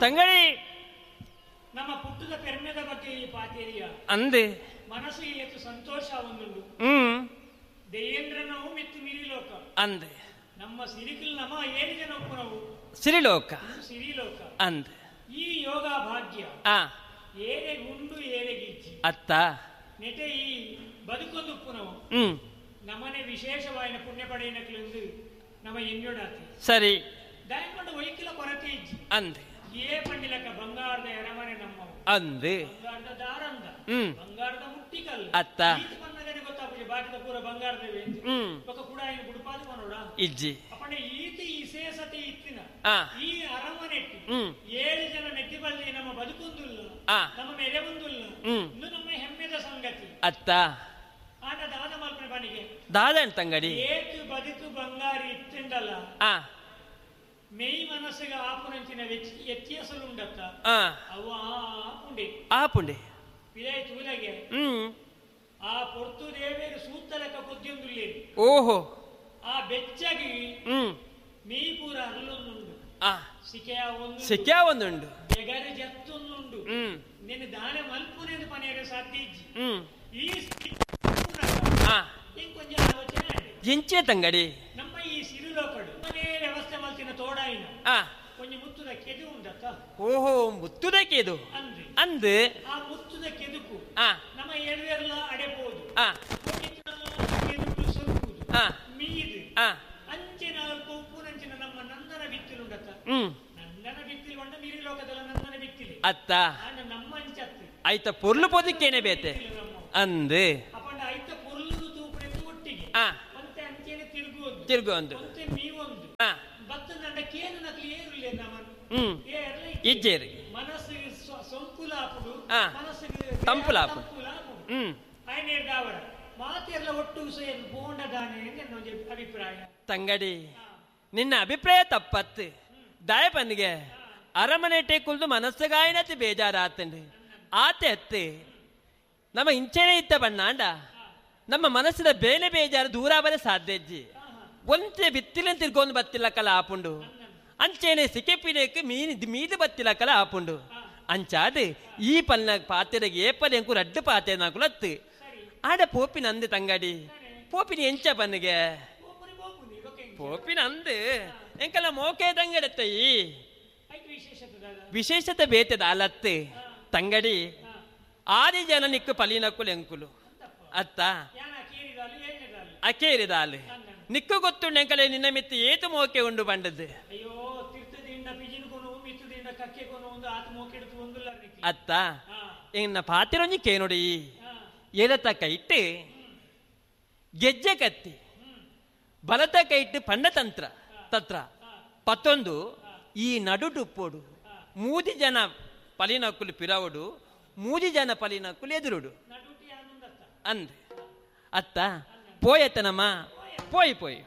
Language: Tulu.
ತಂಗಡಿ ನಮ್ಮ ಪುಟ್ಟದ ಪೆರ್ಮೆದ ಬಗ್ಗೆ ಈ ಪಾತೇರಿಯ ಅಂದೆ ಮನಸ್ಸು ಏತು ಸಂತೋಷ ಒಂದುಂಡು. ದೇವೇಂದ್ರನವು ಮಿತ್ತು ಮಿರಿಲೋಕ ಅಂದೆ ನಮ್ಮ ಸಿರಿಕಲ್ ನಮ ಏಳು ಜನ ಒಪ್ಪುನವು ಸಿರಿಲೋಕ ಸಿರಿಲೋಕ ಅಂದೆ. ಈ ಯೋಗ ಭಾಗ್ಯ ಏರೆಗುಂಡು ಏರೆಗಿಜ್ಜಿ ಅತ್ತ ನೆಟೆ ಈ ಬದುಕೊಂದು ಉಪ್ಪುನವು ನಮ್ಮನೆ ವಿಶೇಷವಾಯಿನ ಪುಣ್ಯ ಪಡೆಯಿನಕ್ಲೆಂದು ನಮ್ಮ ಎನ್ಯೋಡಾತಿ ಸರಿ ದಾಯಕೊಂಡು ಒಯ್ಕಿಲ ಕೊರತೆ ಇಜ್ಜಿ ಅಂದೆ. ಏ ಪಂಡಿಲಕ್ಕ ಬಂಗಾರದ ಎರಮನೆ ನಮ್ಮವು ಅಂದೆ ಬಂಗಾರದ ದಾರಂದ ಬಂಗಾರದ ಮುಟ್ಟಿಕಲ್ಲು ಅತ್ತ ಈತ ಪನ್ನಗನೆ ಗೊತ್ತಾಪುಜಿ ಬಾಕಿದ ಪೂರ ಬಂಗಾರದವೇ ఒక ಕೂಡ ఆయన ಗುಡುಪಾದು ಪನೋಡ ಇಜ್ಜಿ ಅಪ್ಪಂಡ ಈತ ವಿಶೇಷತೆ ಇತ್ತಿನ ಈ ಅರಮನೆಟ್ಟು 7 ಜನ ಮೆಟ್ಟಿಬಲ್ಲಿ ನಮ್ಮ ಬದುಕೊಂದುಲ್ಲ ನಮ್ಮ ಮೆರೆ ಒಂದುಲ್ಲ ಇನ್ನು ನಮ್ಮ ಹೆಮ್ಮೆದ ಸಂಗತಿ ಅತ್ತ. ಆನ ದಾದ ಮಲ್ಪನೆ ಬನಿಗೆ ದಾದನ್ ತಂಗಡಿ ಏತು ಬದುಕು ಬಂಗಾರಿ ಇತ್ತಿಂಡಲ್ಲ ಮೇಯ್ ಮನಸ್ಸಿಗೆ ಆಪುನಂಚಿನ ವ್ಯತ್ಯಾಸಲುಂಡತ್ತ ಅವು ಆಪುಂಡೆ ಆಪುಂಡೆ ವಿದಾಯ ತೂಲಗೆ ಆ ಪೊರ್ತು ದೇವೇರು ಸೂತ್ತಲಕ ಕೊದ್ಯೊಂದುಲ್ಲೇರು. ಓಹೋ ಆ ಬೆಚ್ಚಗಿ ಮೀ ಪೂರ ಅರಲೊಂದುಂಡು ಸಿಕೆಯ ಒಂದು ಸಿಕೆಯ ಒಂದುಂಡು ಬೆಗರು ಜತ್ತೊಂದುಂಡು ನಿನ್ನ ದಾನ ಮಲ್ಪುನೇದು ಪನೆಯರೆ ಸಾಧ್ಯ ಇಜ್ಜಿ. ಈ ಇಂಕೊಂಚ ಆಲೋಚನೆ ಎಂಚೆ ತಂಗಡಿ ನಮ್ಮ ಈ ಸಿರುಲೋಕಡು ಮನೆ ವ್ಯವಸ್ಥೆ ಮಲ್ತಿನ ತೋಡಾಯಿನ ಕೊಂಚ ಮುತ್ತುದ ಕೆದು ಉಂಡತ್ತ. ಓಹೋ ಮುತ್ತುದ ಕೆದು ಅಂದು ಅಂದು ಆ ಮುತ್ತುದ ಕೆದುಕು ನಮ್ಮ ಎಡವೆಲ್ಲ ಅಡೆಬಹುದು ಕೆದುಕು ಸೊಲ್ಕುದು ಮೀದು ಅಂಚಿನ ಉಪ್ಪುನಂಚಿನ ನಮ್ಮ ನಂದನ ಬಿತ್ತಿಲುಂಡತ್ತ. ನಂದನ ಬಿತ್ತಿಲು ಉಂಡ ಮೀರಿ ಲೋಕದಲ್ಲ ನಂದನ ಬಿತ್ತಿಲಿ ಅತ್ತ ನಮ್ಮ ಅಂಚತ್ತು ಆಯ್ತ ಪೊರ್ಲು ಪೊದಕ್ಕೇನೆ ಬೇತೆ ಅಂದು ಅಪ್ಪಂಡ ಐತ ಪೊರ್ಲು ತೂಪುನೆತ್ತು ಒಟ್ಟಿಗೆ ಅಂತೆ ಅಂಚೆನೆ ತಿರುಗುವುದು ತಿರುಗುವಂದು ಅಂತೆ ಮೀವೊಂದು ಬತ್ತದಂಡ ಕೇನು ನಕಲಿ ಏರುಲ್ಲ ನಮ್ಮನ್ನು ಇಜ್ಜೇರಿ ಮನಸ್ಸಿಗೆ ಸೊಂಕುಲಾಪುಡು ಮನಸ್ಸಿಗೆ ತಂಪುಲಾಪುಡು ಆಯ್ನೇರ್ದಾವರ ಮಾತೆಲ್ಲ ಒಟ್ಟು ಸೇರಿ ಬೋಂಡದಾನೆ ನನ್ನ ಅಭಿಪ್ರಾಯ. ತಂಗಡಿ ನಿನ್ನ ಅಭಿಪ್ರಾಯ ತಪ್ಪತ್ತು ದಾಯಪನ್ನಿಗೆ ಅರಮನೆ ಟೇಕುಲ್ದು ಮನಸ್ಸುಗಾಯನತಿ ಬೇಜಾರಾತಂಡು ಆತೆ ಅತ್ತೆ ನಮ್ಮ ಇಂಚೆನೆ ಇತ್ತ ಬಣ್ಣಾಂಡ ನಮ್ಮ ಮನಸ್ಸಿನ ಬೇನೆ ಬೇಜಾರು ದೂರ ಬರ ಸಾಧ್ಯ ಇಜ್ಜಿ. ಒಂಚೆ ಬಿತ್ತಿಲ ತಿರ್ಗೊಂದು ಬತ್ತಿಲ್ಲಕ್ಕಲ ಆಪುಂಡು ಅಂಚೆನೆ ಸಿಕೆಪಿನೇಕ್ ಮೀನು ಮೀದು ಬತ್ತಿಲಕ್ಕಲ ಆಪುಂಡು ಅಂಚಾದು ಈ ಪಲ್ನ ಪಾತೆರೆಗೆ ಏಪಲ್ ಎಂಕು ರಡ್ಡು ಪಾತೆ ನಾಕುಲತ್ತು ಆಡ ಪೋಪಿನ ಅಂದೆ ತಂಗಡಿ ಪೋಪಿನ ಎಂಚ ಪನ್ನಿಗೆ ಪೋಪಿನ ಅಂದು ಎಂಕಲ ಮೋಕೆ ತಂಗಡತ್ತಯಿ ವಿಶೇಷತೆ ಬೇತೆದ ಅಲತ್ತು ತಂಗಡಿ ಆದಿ ಜನ ನಿಕ್ಕು ಪಲಿನಕ್ಕುಲು ಎಂಕುಲು ಅತ್ತ ಅಕೇರಿದಾಲು ನಿಕ್ಕು ಗೊತ್ತುಂಡು ಎಂಕಲೆ ನಿನ್ನ ಮಿತ್ತು ಏತು ಮೋಕೆ ಉಂಡು ಬಂಡದ್ದು ಅತ್ತ ಎನ್ನ ಪಾತಿರೊಂಜಿ ಕೇನುಡಿ ಎಡತ ಕೈಟ್ಟು ಗೆಜ್ಜೆ ಕತ್ತಿ ಬಲತ ಕೈಟ್ಟು ಪಂಡತಂತ್ರ ತತ್ರ ಪತ್ತೊಂದು ಈ ನಡುಟುಪ್ಪೋಡು ಮೂದಿ ಜನ ಪಲಿನಕ್ಕುಲು ಪಿರವಡು ಮೂಜಿ ಜನ ಪಲಿನಕ್ಕುಲು ಎದುರುಡು ಅಂದ್ ಅತ್ತ ಪೋಯತ್ತನಮ್ಮ ಪೋಯಿ ಪೋಯಿ.